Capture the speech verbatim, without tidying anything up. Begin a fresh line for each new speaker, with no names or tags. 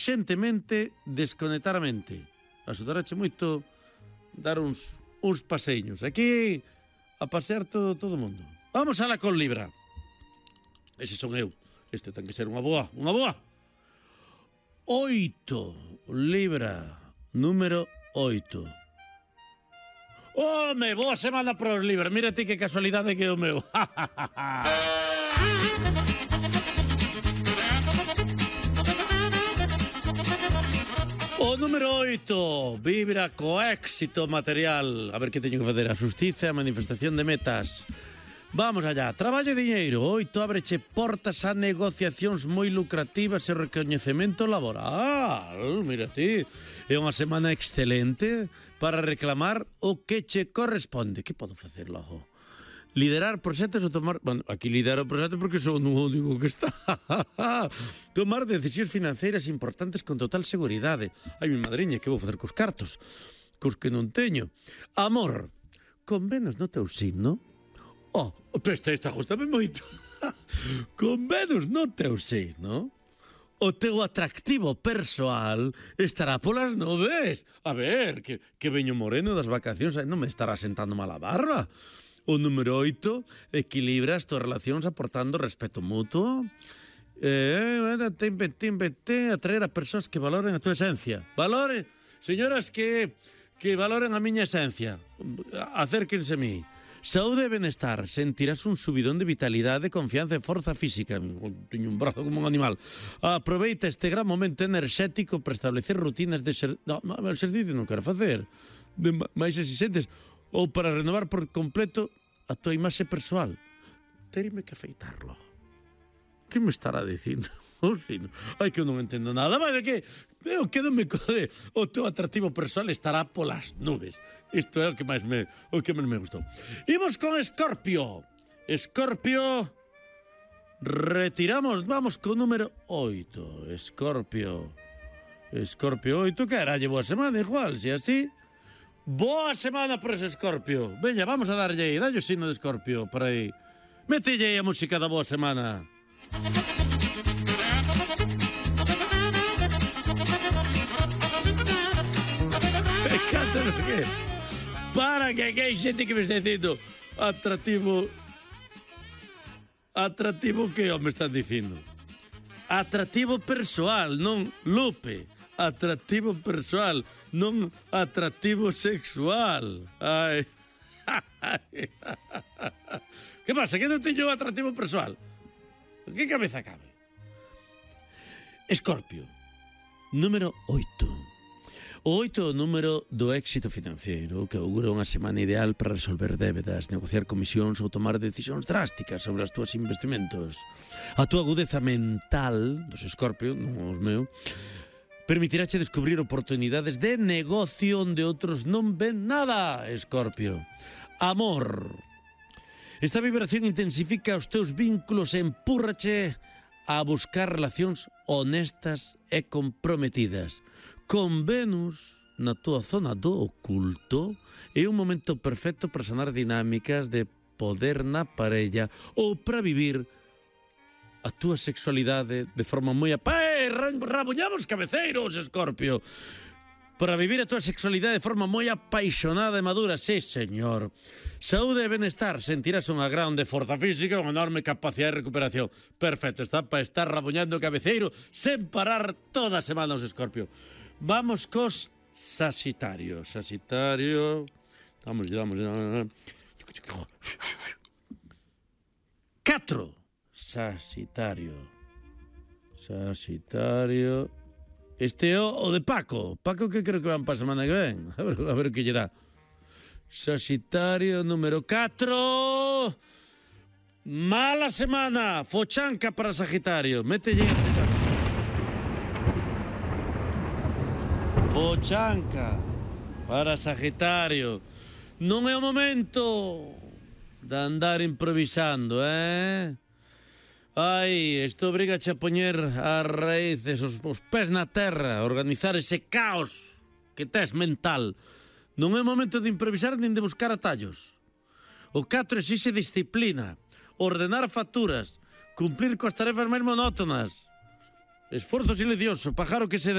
urxentemente desconectar a mente. Axudarache moito dar uns, uns paseiños. Aquí a pasear todo, todo o mundo. Vamos ala con Libra. Ese son eu. Este ten que ser unha boa, unha boa. Oito. Libra. Número oito. Home, boa semana para os Libra. Mira ti que casualidade que é o meu. O número oito. Vibra co éxito material. A ver que teño que facer. A xustiza e a manifestación de metas. Vamos allá. Traballo e diñeiro. Oito ábreche portas a negociacións moi lucrativas e recoñecemento laboral. Mira ti. É unha semana excelente para reclamar o que che corresponde. Que podo facer logo? Liderar proxectos ou tomar... Bueno, aquí lidero proxectos porque son o único que está. Tomar decisións financeiras importantes con total seguridade. Ai, mi madriña, que vou facer cos cartos? Cos que non teño. Amor. Con Venus no teu signo? Oh, este está justame moito. Con Venus no teu signo? O teu atractivo persoal estará polas nubes. A ver, que, que veño moreno das vacacións, non me estará sentando mal a barba. O número oito, equilibra as túas relacións aportando respeto mutuo. Eh, timbe, timbe, te, atraer a persoas que valoren a túa esencia. Valoren, señoras que, que valoren a miña esencia. Acérquense a mí. Saúde e benestar. Sentirás un subidón de vitalidade, confianza e forza física. Teño un brazo como un animal. Aproveita este gran momento enerxético para establecer rutinas de ser... No, o exercicio non quero facer. De máis exigentes. Ou para renovar por completo a tua imaxe persoal. Terime que afeitarlo. Que me estará dicindo? Oh, sí, no. Ai, que eu non entendo nada. Mas é que eu quedo-me code. O teu atractivo persoal estará polas nubes. Isto é o que máis me, o que máis me gustou. Imos con Escorpio. Escorpio. Retiramos, vamos con número oito. Escorpio. Escorpio oito. Carallo, boa semana, igual, se así... Boa semana por ese Escorpio. Veña, vamos a darlle aí. Dalle o signo de Escorpio por aí. Metelle aí a música da boa semana. Cántame que... Para que aquí hai xente que me está dicindo atractivo... Atractivo que o me están dicindo? Atractivo persoal, non Lupe. Atractivo persoal, non atractivo sexual. Ai. Que pasa? Que non teño atractivo persoal? Que cabeza cabe? Escorpio, número oito. O oito é o número do éxito financiero, que augura unha semana ideal para resolver débedas, negociar comisións ou tomar decisións drásticas sobre os túas investimentos. A túa agudeza mental, dos Escorpio, non os meu, permitirache descubrir oportunidades de negocio onde outros non ven nada, Escorpio. Amor. Esta vibración intensifica os teus vínculos e empúrrache a buscar relacións honestas e comprometidas. Con Venus na túa zona do oculto é un momento perfecto para sanar dinámicas de poder na parella ou para vivir a túa sexualidade de forma moi... Pai, rabuñamos cabeceiros, Escorpio. Para vivir a túa sexualidade de forma moi apaixonada e madura, sí, señor. Saúde e benestar, sentirás unha grande forza física e unha enorme capacidade de recuperación. Perfecto, está para estar rabuñando o cabeceiro sen parar toda a semana os Escorpio. Vamos cos Sagitario. Sagitario... Vamos, vamos, vamos. Catro. Sagitario. Sagitario. Este é o, o de Paco. Paco que creo que van para a semana que ven. A ver, a ver que lle dá. Sagitario número catro. Mala semana. Fochanca para Sagitario. Mételle a fochanca. Fochanca para Sagitario. Non é o momento de andar improvisando, eh? Ai, isto obrigache a poñer as raíces, os, os pés na terra, a organizar ese caos que tes mental. Non é momento de improvisar nin de buscar atallos. O catro exixe disciplina, ordenar facturas, cumplir coas tarefas máis monótonas. Esforzo silencioso, pájaro que se